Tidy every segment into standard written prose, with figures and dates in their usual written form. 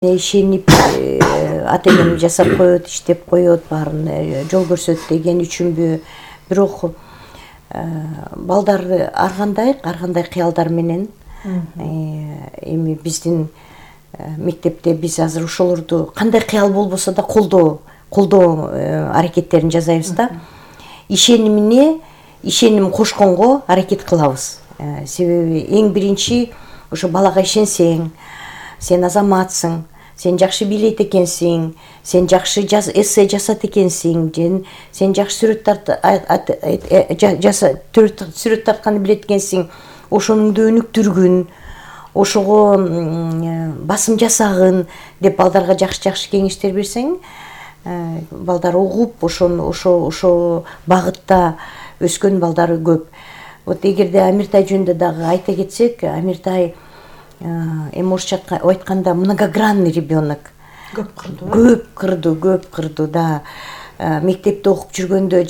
ишенип ата энем жасап коет, иштеп коет, баарын жол көрсөт деген үчүнбү, бирок балдар ар кандай кыялдар менен эми биздин мектепте биз азыр ошолорду кандай кыял болбосо да колдоо аракеттерин жасайбыз да. Ишеним кошконго аракет кылабыз. Себеби эң биринчи ошо балага ишенсең, сен азаматсың, сен жакшы бийлейт экенсиң, сен жакшы эссе жасат экенсиң, сен жакшы сүрөт тартканды билет экенсиң, ошонуңду өнүктүргүн, ошого басым жасагын деп балдарга жакшы кеңештер берсең, балдар угуп ошо багытта өскөн балдар көп. Вот эгерде Амиртай жөнүндө дагы айта кетсек, Амиртай эми орусча айтканда многогранный ребенок. Көп кырдуу, да. Мектепте окуп жүргөндө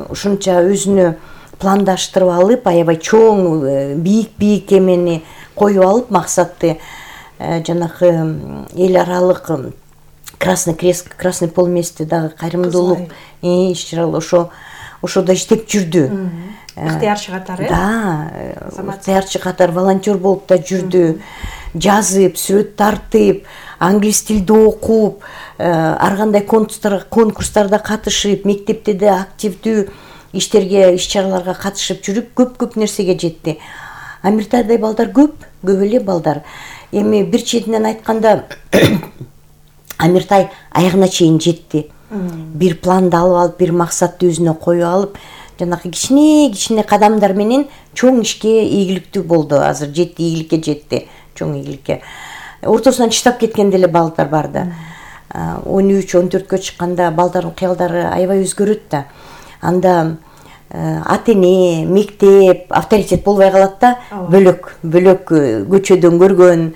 ушунча өзүнө пландаштырып алып, аябай чоң, бийик эмени коюп алып, максатты жанагы эл аралык Красный Крест, Красный полмесяцте дагы кайрымдуулук иш-чаралар ошодо иштеп жүрдү. Ыктыярчы катары? Да, ыктыярчы катары волонтер болуп да жүрдү. Жазып, сүрөт тартып, англис тилди окуп, ар кандай конкурстарда катышып, мектепте да активдүү иштерге, иш-чараларга катышып жүрүп, көп нерсеге жетти. Амиртайдай балдар көп эле балдар. Эми бир четинен айтканда Амиртай аягына чейин жетти. Бир планды алып алып, бир максатты өзүнө коюп алып, жанагы кичине кадамдар менен чоң ишке ийгиликтүү болду. Азыр жетти, ийгиликке жетти, чоң ийгиликке. Ортосунан чыдап кеткен деле балдар бар да. 13-14кө чыкканда балдардын кыялдары аябай өзгөрөт да. Анда ата эне, мектеп, авторитет болбой калат да. Бөлөк көчөдөн көргөн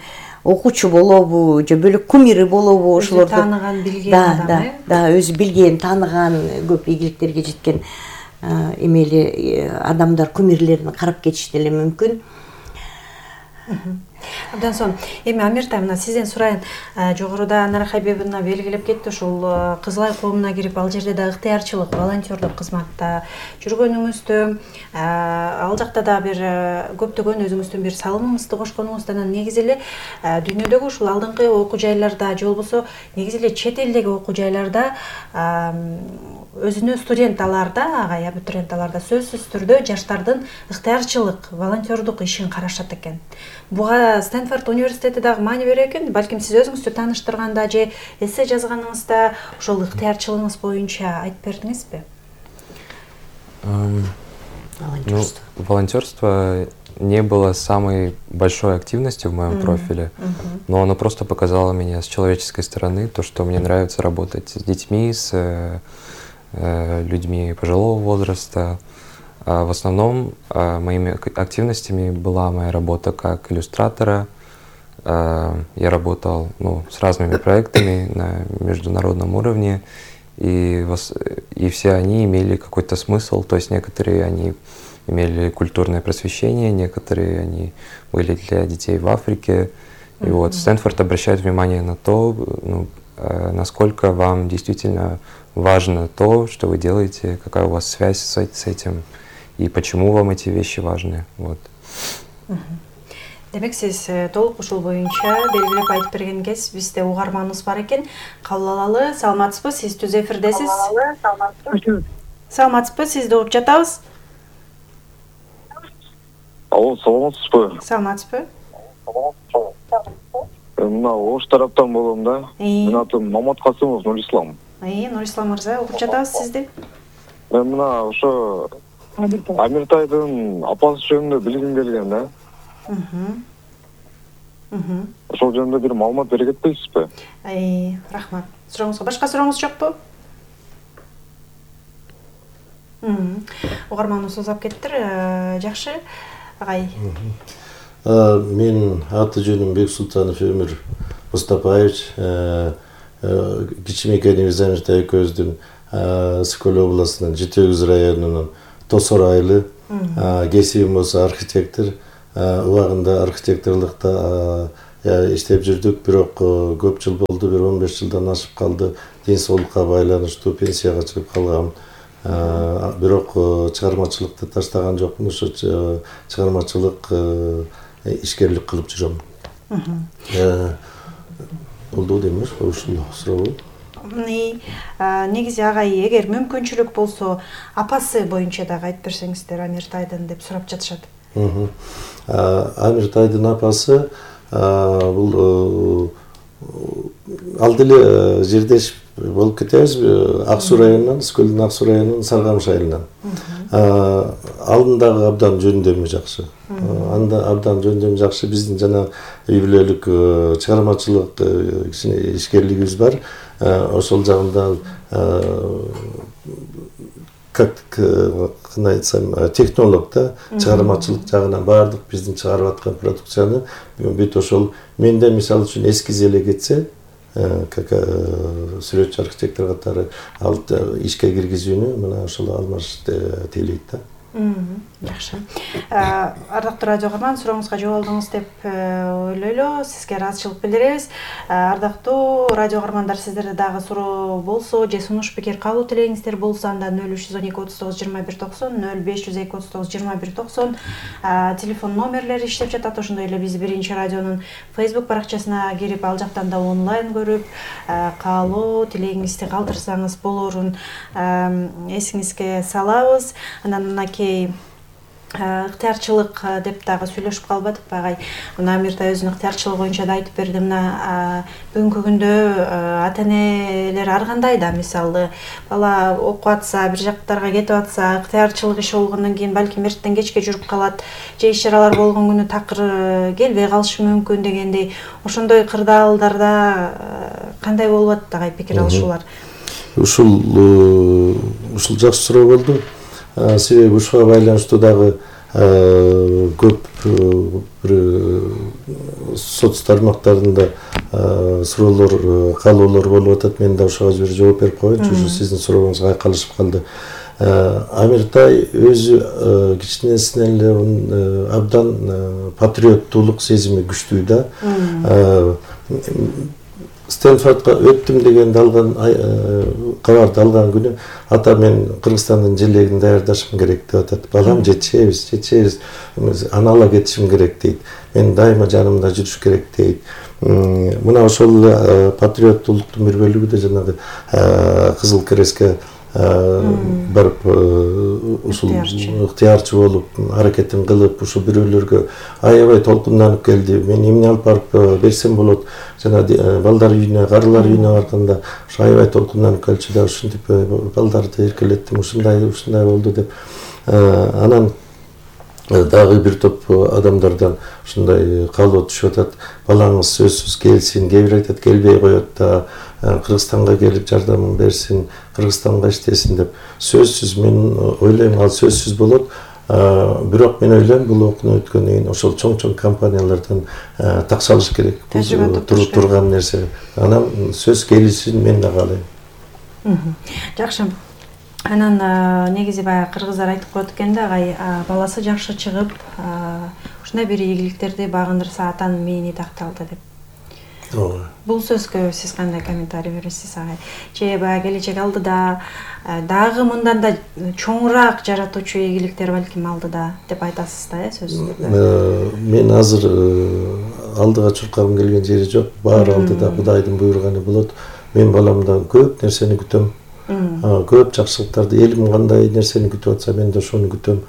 окуучу болобу, же бөлөк кумиры болобу, ошолорду тааныган, билген адам. Да, өзү билген, тааныган, көп ийгиликтерге жеткен эмели адамдар, кумирлерин карап кетиш деле мүмкүн. Абдан сонун. Эми Амиртай, мына сизден сурайын. Жогоруда Анара Хайбебовна белгилеп кетти, ушул Кызылай коомуна кирип, ал жерде да ыктыярчылык, волонтерлук кызматта жүргөнүңүздү, ал жакта да бир көптөгөн өзүңүздүн бир салымыңызды кошконуңузду, анан негизи эле дүйнөдөгү ушул алдыңкы окуу жайларда же болбосо негизи эле чет элдеги окуу жайларда өзүнө студент аларда, абитуриент аларда сөзсүз түрдө жаштардын ыктыярчылык, волонтердук ишин карашат экен. Буга Стэнфорд университети дагы маани берет экен. Балким сиз өзүңүздү тааныштырганда же эссе жазганыңызда ошол ыктыярчылыгыңыз боюнча айтып бердиңизби? Волонтерство не было самой большой активностью в моем профиле, но оно просто показало меня с человеческой стороны, то, что мне нравится работать с детьми, с людьми пожилого возраста. В основном моими активностями была моя работа как иллюстратора. Я работал с разными проектами на международном уровне, и все они имели какой-то смысл, то есть некоторые они имели культурное просвещение, некоторые они были для детей в Африке. И вот Стэнфорд обращает внимание на то, насколько вам действительно важно то, что вы делаете, какая у вас связь с этим, и почему вам эти вещи важны. Вот. Демек, сиз толук ушул боюнча белгилеп айтып берген кез бизде угарманыбыз бар экен. Кабыл алалы. Саламатсызбы? Сиз түз эфирдесиз. Саламатсызбы? Сизди угуп жатабыз. Алло, саламатсызбы? Саламатсызбы? Мына Ош тараптан болом да. Менин атым Мамат Касымов Нурислам. Нурислам мырза, угуп жатабыз сизди. Мен мына ошо Амиртайдын апасы жөнүндө билгим келген да. Ошол жөнүндө бир маалымат бере кетпейсизби? Рахмат. Сурооңузга башка сурооңуз жокпу? Угарманыбыз узап кеттир. Жакшы. Агай. Менин аты жөнүм Бексултанов Өмүр Мустапаевич. Кичинекейибиз Амиртай экөөбүздүн Скөл областынын Жетегиз районунун Тосор айылы. Кесибим болсо архитектор. Убагында архитекторлукта иштеп жүрдүк, бирок көп жыл болду, бир 15 жылдан ашып калды. Ден соолукка байланыштуу пенсияга чыгып калгам. Бирок чыгармачылыкты таштаган жокмун, ошо чыгармачылык ишкерлик кылып жүрөм. Болду дейм, ушул суроо. Негизи агай, эгер мүмкүнчүлүк болсо, апасы боюнча дагы айтып берсеңиздер, Амиртайдын деп сурап жатышат. Амиртайдын апасы бул ал деле жердеш болуп кетебиз. Ак Суу районунан, Скөлдүн Ак Суу районунун Саргамыш айылынан. Алдындагы абдан жөндөмү жакшы. Анда абдан жөндөмү жакшы. Биздин жана үй бүлөлүк чыгармачылык кичине ишкерлигибиз бар. Ошол жагында как кандай айтсам, технолог да, чыгармачылык жагынан баардык биздин чыгарып аткан продукцияны бүт ошол менде мисалы үчүн эскиз эле кетсе, как сүрөтчү архитектор катары ал ишке киргизүүнү мына ошол Алмаш тейлейт да. Жакшы. Ардактуу радио каарман, сурооңузга жооп алдыңыз деп ойлойлу. Сизге ыраазычылык билдиребиз. Ардактуу радио каармандар, сиздерде дагы суроо болсо же сунуш пикир кабыл тилегиңиздер болсо, анда 0312 39 21 90, 0502 39 21 90 телефон номерлери иштеп жатат. Ошондой эле биз Биринчи радионун Facebook баракчасына кирип, ал жактан да онлайн көрүп, каалоо тилегиңизди калтырсаңыз болорун эсиңизге салабыз. Анан ыктыярчылык деп дагы сүйлөшүп калбадыкпы агай? Мына Амиртай өзүнүн ыктыярчылыгы боюнча да айтып берди. Мына бүгүнкү күндө ата-энелер ар кандай да, мисалы бала окуп атса, бир жактарга кетип атса, ыктыярчылык иши болгондон кийин балким эртеден кечке жүрүп калат, же иш-чаралар болгон күнү такыр келбей калышы мүмкүн дегендей. Ошондой кырдаалдарда кандай болуп атат агай пикир алышуулар? Ушул жакшы суроо болду. Себеби ушуга байланыштуу дагы көп соц тармактарында суроолор, каалоолор болуп атат. Мен да ошого бир жооп берип коеюнчу, ушу сиздин сурооңузга айкалышып калды. Амиртай өзү кичинесинен эле абдан патриоттуулук сезими күчтүү да. Стэнфордко өттүм дегенди алган кабарды алган күнү ата мен Кыргызстандын желегин даярдашым керек деп атат. Балам, жетишебиз, аны ала кетишим керек дейт. Мен дайыма жанымда жүрүш керек дейт. Мына ошол патриоттуулуктун бир бөлүгү да жанагы Кызыл Крестке барып ушул ыктыярчы болуп, аракетин кылып, ушул бирөөлөргө аябай толкунданып келди. Мен эмне алып барып берсем болот? Жана балдар үйүнө, карылар үйүнө барганда ушу аябай толкунданып келчү да, ушинтип балдарды эркелеттим, ушундай болду деп. Анан дагы бир топ адамдардан ушундай каалоо түшүп атат. Балаңыз сөзсүз келсин, кээ бир айтат келбей коет да, Кыргызстанга келип жардамын берсин, Кыргызстанга иштесин деп. Сөзсүз, мен ойлойм, ал сөзсүз болот. Бирок мен ойлойм, бул окууну өткөндөн кийин ошол чоң кампаниялардан такшалыш керек. Турган нерсе. Анан сөз келишин мен да каалайм. Жакшы. Анан негизи баягы кыргыздар айтып коет экен да, агай, баласы жакшы чыгып, ушундай бир ийгиликтерди багындырса атанын мээни такталды деп. Бул сөзгө сиз кандай комментарий бересиз агай? Же баягы келечек алдыда дагы мындан да чоңураак жаратуучу ийгиликтер балким алдыда деп айтасыз да, сөзүңүздө? Мен азыр алдыга чуркагым келген жери жок. Баары алдыда Кудайдын буйруганы болот. Мен баламдан көп нерсени күтөм. Көп жакшылыктарды, элим кандай нерсени күтүп атса, мен да ошону күтөм.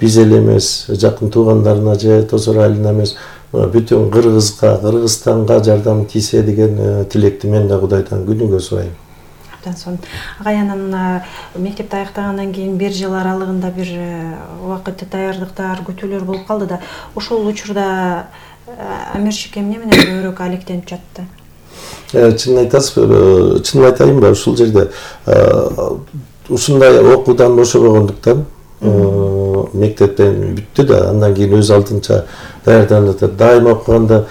Биз эле эмес, жакын туугандарына же тосор айылына эмес, бүтүн Кыргызстанга жардам тийсе деген тилекти мен да Кудайдан күнүгө сурайм. Абдан сонун. Агай, анан мектепти аяктагандан кийин бир жыл аралыгында бир убакыт даярдыктар, күтүүлөр болуп калды да, ошол учурда Амирчик эмне менен көбүрөөк алектенип жатты? Чынын айтасыз, чынын айтайынбы, ушул жерде ушундай окуудан бошобогондуктан мектептен бүттү да, андан кийин өз алдынча даярданып атат. Дайыма окуганда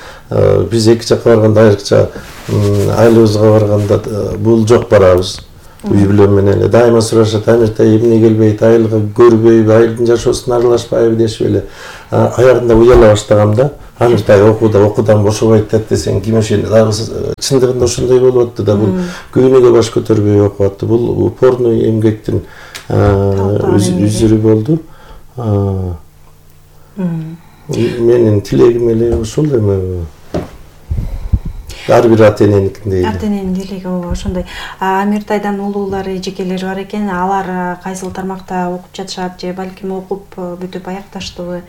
биз эки жакка барганда, айрыкча айылыбызга барганда бул жок барабыз. Үй бүлөм менен эле дайыма сурашат: Амиртай эмне келбейт, айылга көрбөйбү, айылдын жашоосуна аралашпайбы дешип эле. Аягында уяла баштагам да. Амиртай окуудан бошобойт деп десең ким ошен чындыгында ошондой болуп атты да, бул күйүүнүгө баш көтөрбөй окуп атты. Бул упорный эмгектин үзүрү болду. Менин тилегим эле ошол эми ар бир ата эненикиндей. Ата эненин тилеги ошондой. Амиртайдан улуулары, эжекелери бар экен. Алар кайсыл тармакта окуп жатышат же балким окуп бүтүп аякташтыбы?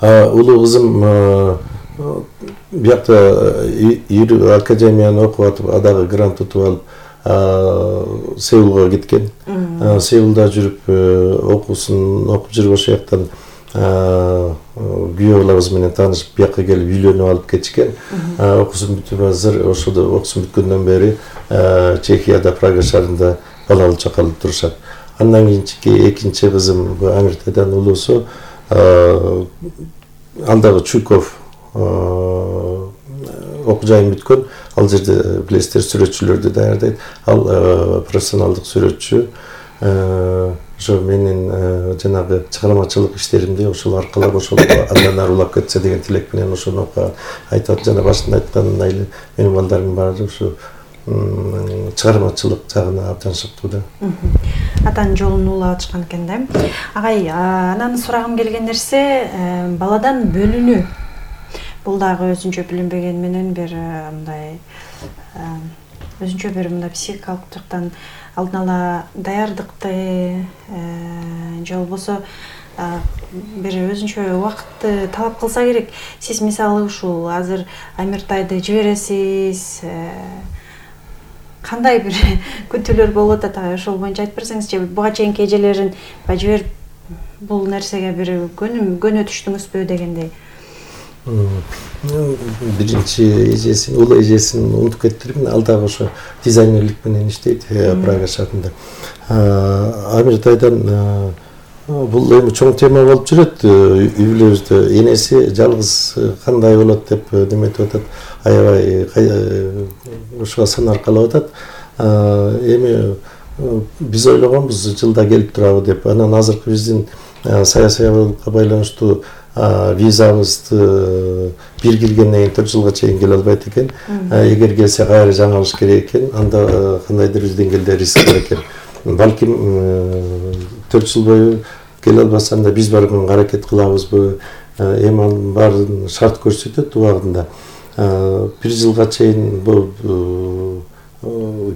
Улуу кызым биякта академияны окуп атып, дагы грант утуп алып Сеулга кеткен. Сеулда жүрүп окуп жүрүп ошол жактан күйөө балабыз менен таанышып бияка келип үйлөнүп алып кетишкен. Окуусун бүтүп азыр ошодо окуусун бүткөндөн бери Чехияда, Прага шаарында балалуу чакалып турушат. Андан кийинчи экинчи кызым Амиртайдан улуусу ал дагы Чуйков окуу жайын бүткөн. Ал жерде билесиздер сүрөтчүлөрдү даярдайт. Ал профессионалдык сүрөтчү. Ошо менин жанагы чыгармачылык иштеримди ошол аркылуу ошол андан ары улап кетсе деген тилек менен ошону айтат. Жана башында айткандай эле менин балдарымдын баары ошо чыгармачылык жагына абдан шыктуу да. Атанын жолун улап атышкан экен да. Агай, анан сурагым келген нерсе баладан бөлүнүү. Бул дагы өзүнчө билинбеген менен бир мындай өзүнчө бир мындай психикалык жактан алдын ала даярдыкты же болбосо бир өзүнчө убакытты талап кылса керек. Сиз мисалы ушул азыр Амиртайды жибересиз, кандай бир күтүүлөр болуп атат, ошол боюнча айтып берсеңизчи, буга чейинки эжелерин жиберип бул нерсеге бир көнө түштүңүзбү дегендей. Биринчи эжесин, улуу эжесин унутуп кеттирмин. Ал дагы ошо дизайнерлик менен иштейт Прага шаарында. Амиртайдан бул эми чоң тема болуп жүрөт үй бүлөбүздө. Энеси жалгыз кандай болот деп неметип атат. Аябай ошого сан аркалап атат. Эми биз ойлогонбуз жылда келип турабы деп. Анан азыркы биздин саясий абалга байланыштуу визабызды бир киргенден кийин 4 жылга чейин келе албайт экен. Эгер келсе кайра жаңылыш керек экен, анда кандайдыр бир деңгээлде риск бар экен. Балким 4 жыл бою келе албаса анда биз барып аракет кылабызбы? Эми анын баарын шарт көрсөтөт убагында. 1 жылга чейин бул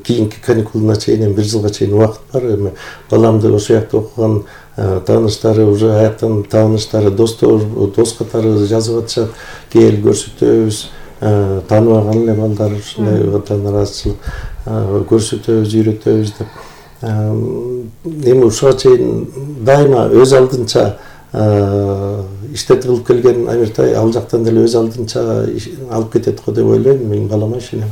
кийинки каникулуна чейин 1 жылга чейин убакыт бар. Эми баламды ошол жакта окуган тааныштары, уже аяктан тааныштары, дос катары жазып атышат. Кел көрсөтөбүз, тааныбаган эле балдар ушундай ватан ыраазычылык көрсөтөбүз, үйрөтөбүз деп. Эми ушуга чейин дайыма өз алдынча иштет кылып келген Амиртай ал жактан деле өз алдынча алып кетет го деп ойлойм. Мен балама ишенем.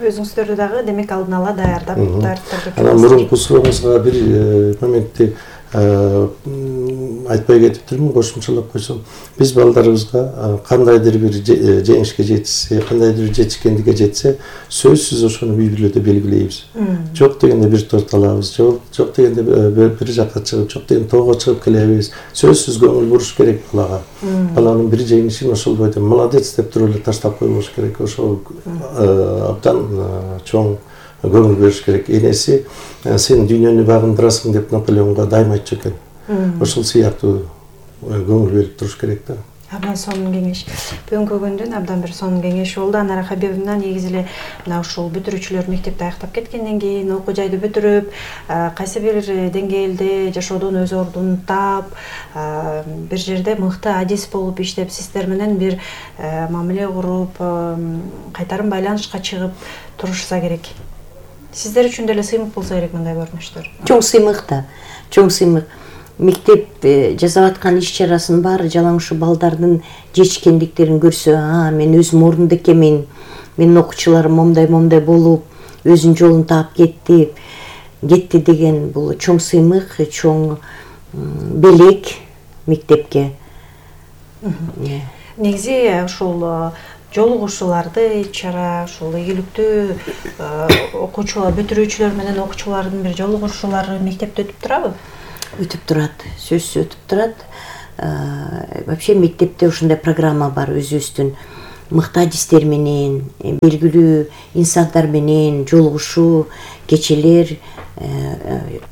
Өзүңүздөрдү дагы демек алдын ала даярдап анан мурунку сурооңузга бир моментти айтпай кетиптирмин, кошумчалап койсом. Биз балдарыбызга кандайдыр бир жеңишке жетишсе, кандайдыр бир жетишкендикке жетсе, сөзсүз ошону үй бүлөдө белгилейбиз. Жок дегенде бир торт алабыз, жок дегенде бир жакка чыгып, жок дегенде тоого чыгып келебиз. Сөзсүз көңүл буруш керек балага. Баланын бир жеңишин ошол бойдо молодец деп туруп эле таштап койбош керек. Ошол абдан чоң көңүл бериш керек. Энеси сен дүйнөнү багындырасың деп Наполеонго дайыма айтчу экен. Ошол сыяктуу көңүл берип туруш керек да. Абдан сонун кеңеш. Бүгүнкү күндүн абдан бир сонун кеңеши болду. Анара Хабибовна негизи эле мына ушул бүтүрүүчүлөр мектепти аяктап кеткенден кийин, окуу жайды бүтүрүп, кайсы бир деңгээлде жашоодон өз ордун таап, бир жерде мыкты адис болуп иштеп, сиздер менен бир мамиле куруп, кайтарым байланышка чыгып турушса керек. Сиздер үчүн деле сыймык болсо керек мындай көрүнүштөр. Чоң сыймык да, чоң сыймык. Мектеп жасап аткан иш чарасын баары жалаң ушу балдардын жетишкендиктерин көрсө, мен өзүм орунда экенмин, менин окуучуларым момдай болуп, өзүнүн жолун таап кетти деген бул чоң сыймык, чоң белек мектепке. Негизи ушул жолугушууларды, чара ушул ийгиликтүү окуучулар, бүтүрүүчүлөр менен окуучулардын бир жолугушуулары мектепте өтүп турабы? Өтүп турат, сөзсүз өтүп турат. вообще мектепте ушундай программа бар, өзүбүздүн мыкты адистер менен, белгилүү инсандар менен жолугушуу кечелер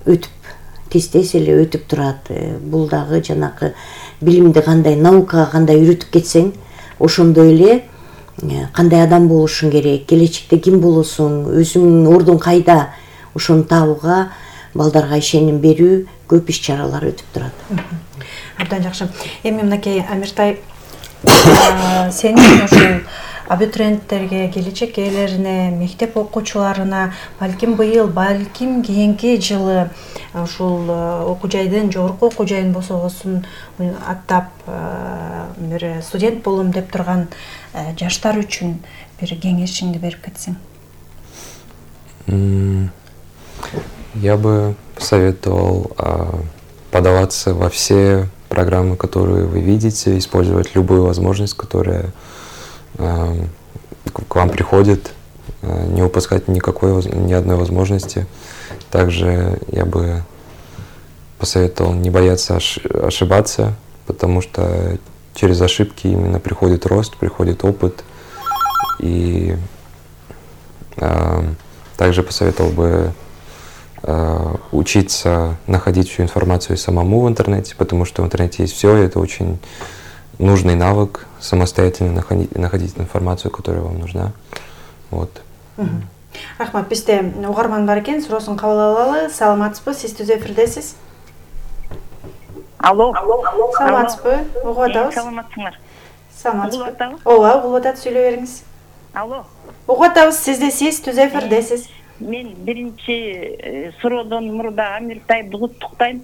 өтүп, тез эле өтүп турат. Бул дагы жанакы билимди кандай, наукага кандай үйрөтүп кетсең, ошондой эле кандай адам болушуң керек, келечекте ким болосуң, өзүңдүн ордуң кайда, ошону табууга, балдарга ишеним берүү, көп иш чаралар өтүп турат. Абдан жакшы. Эми мынакей Амиртай, сенин ушул абитуриенттерге, келечек ээлерине, мектеп окуучуларына балким быйыл, балким кийинки жылы ушул окуу жайдын, жогорку окуу жайын босогосун аттап бир студент болом деп турган жаштар үчүн бир кеңешиңди берип кетсең. Я бы посоветовал подаваться во все программы, которые вы видите, использовать любую возможность, которая к вам приходит, не упускать ни одной возможности. Также я бы посоветовал не бояться ошибаться, потому что через ошибки именно приходит рост, приходит опыт. И также посоветовал бы учиться находить всю информацию самому в интернете, потому что в интернете есть все, и это очень нужный навык самостоятельно находить информацию, которая вам нужна. Вот. Рахмат, бизде угарман бар экен, суроосун кабыл алалы. Саламатсызбы? Сиз түз эфирдесиз. Алло. Саламатсызбы? Угуп атабыз. Саламатсыңар. Саламатсызбы? Ооба, угуп атат, сүйлөй бериңиз. Алло. Угуп атабыз, сиз түз эфирдесиз. Мен биринчи суроодон мурда Амиртайды куттуктайм.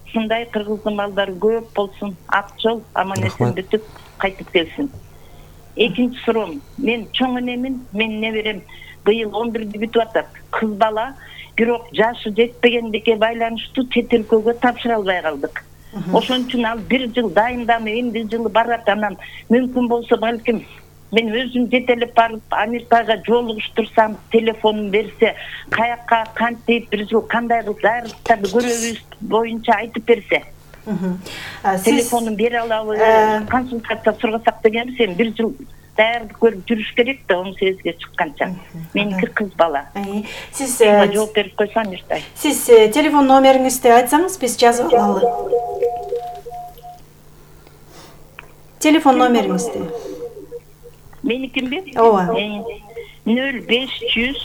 Ушундай кыргыздын балдары көп болсун, ак жол, аман-эсен бүтүп кайтып келсин. Экинчи суроом, мен чоң энемин, мен неберем быйыл 11-ди бүтүп атат. Кыз бала, бирок жашы жетпегендикке байланыштуу чет өлкөгө тапшыра албай калдык. Ошон үчүн ал 1 жыл дайынданып, эмди жылы барат, анан мүмкүн болсо балким мен өзүм жетелеп барып Амиртайга жолугуштурсам, телефонун берсе, каякка кантип 1 жыл кандай кылып даярдыктарды көрөбүз боюнча айтып берсе. Телефонун бере алабы, консультация сурасак дегенбиз, 1 жыл даярдык көрүп жүрүш керек да, 18-ге чыкканча. Меники кыз бала. Сиз жооп берип койсо Амиртай. Сиз телефон номериңизди айтсаңыз, биз жазып алалы. Телефон номериңизди. Меникимби? Ооба. 0500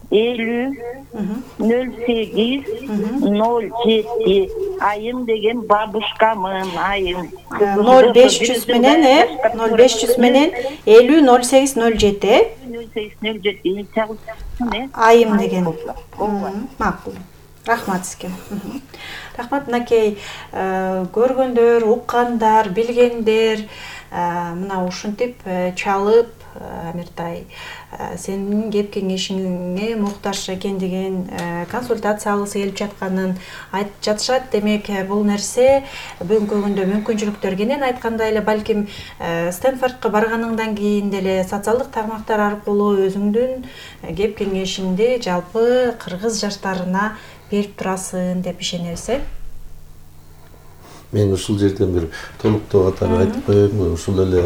50 08 07 айым деген бабушкамын, айым. 0500 менен 0500 менен 50 08 07 0807 чагылсын. Айым деген. Макул. Рахмат сизге. Рахмат, мынакей көргөндөр, уккандар, билгендер мына ушинтип чалып Амиртай сенин кеп кеңешиңе муктаж экендигин, консультация алгысы келип жатканын айтып жатышат. Демек, бул нерсе бүгүнкү күндө мүмкүнчүлүктөр кенен, айткандай эле балким Стэнфордко барганыңдан кийин деле социалдык тармактар аркылуу өзүңдүн кеп кеңешиңди жалпы кыргыз жаштарына берип турасың деп ишенебиз. Мен ушул жерден бир толуктоо катары айтып коеюн. Ушул эле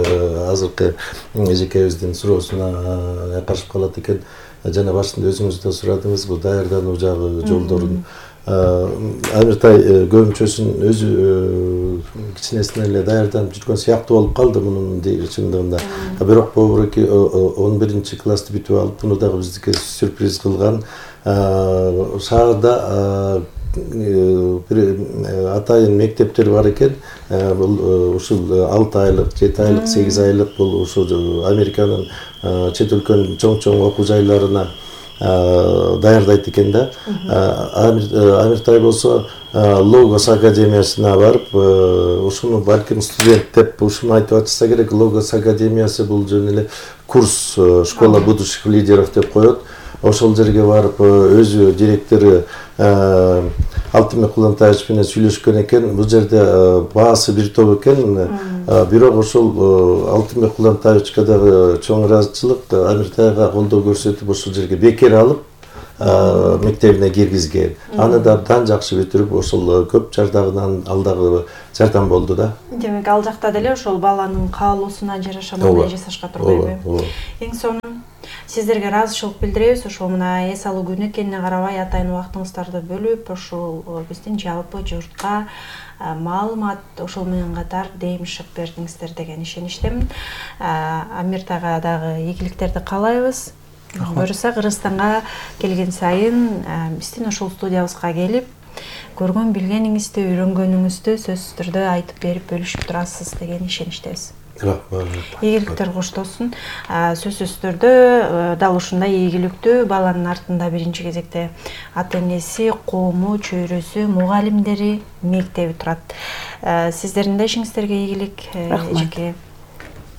азыркы эжекебиздин суроосуна каршып калат экен. Жана башында өзүңүз да сурадыңыз, бул даярдануу жагы жолдорун. Амиртай көбүнчөсүн өзү кичинесинен эле даярданып жүргөн сыяктуу болуп калды мунун чындыгында. Бирок Бобуреки 11-классты бүтүп алып, буну дагы бизге сюрприз кылган. Шаарда атайын мектептер бар экен. Бул ушул 6 айлык, 7 айлык, 8 айлык бул ушул Американын чет өлкөнүн чоң окуу жайларына даярдайт экен да. Амиртай болсо Логос академиясына барып, ушуну балким студент деп ушуну айтып атса керек. Логос академиясы бул жөн эле курс, школа будущих лидеров деп коет. Ошол жерге барып өзү директору Алтынбек Кулантаевич менен сүйлөшкөн экен. Бул жерде баасы бир топ экен. Бирок ошол Алтынбек Кулантаевичке дагы чоң ыраазычылык, Амиртайга колдоо көрсөтүп ошол жерге бекер алып, мектебине киргизген. Аны да абдан жакшы бүтүрүп, ошол көп жардагынан ал дагы жардам болду да. Демек ал жакта деле ошол баланын каалоосуна жараша мындай жасашка турбайбы? Эң сонун сиздерге ыраазычылык билдиребиз. Ошол мына эс алуу күнү экенине карабай атайын убактыңыздарды бөлүп, ошол биздин жалпы журтка маалымат ошол менен катар демишик бердиңиздер деген ишеничтемин. Амиртайга дагы ийгиликтерди каалайбыз. Буюрса Кыргызстанга келген сайын биздин ошол студиябызга келип, көргөн билгениңизди, үйрөнгөнүңүздү сөзсүз түрдө айтып берип бөлүшүп турасыз деген ишеничтебиз. Рахмат. Ийгиликтер коштолсун. Сөзсүз түрдө дал ушундай ийгиликтүү баланын артында биринчи кезекте ата энеси, коому, чөйрөсү, мугалимдери, мектеби турат. Сиздердин да ишиңиздерге ийгилик. Эжеке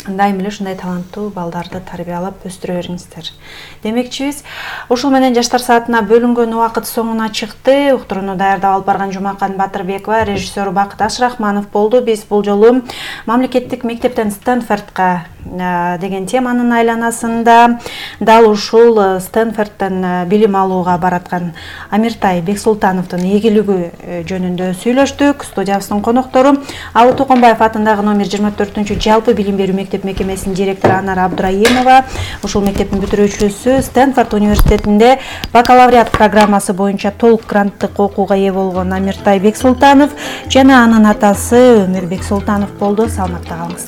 дайым эле ушундай таланттуу балдарды тарбиялап өстүрө бериңиздер демекчибиз. Ушул менен жаштар саатына бөлүнгөн убакыт соңуна чыкты. Уктурууну даярдап алып барган Жумакан Батырбекова, режиссер Бакыт Ашрахманов болду. Биз бул жолу мамлекеттик мектептен Стэнфордко деген теманын айланасында дал ушул Стэнфордтон билим алууга бараткан Амиртай Бексултановдун ийгилиги жөнүндө сүйлөштүк. Студиябыздын коноктору Алуу Токонбаев атындагы номер 24 жалпы билим берүү мектеп мекемесинин директору Анар Абдраимова, ушул мектептин бүтүрүүчүсү, Стэнфорд университетинде бакалавриат программасы боюнча толук гранттык окууга ээ болгон Амиртай Бексултанов жана анын атасы Өмүр Бексултанов болду. Саламатта калыңыз.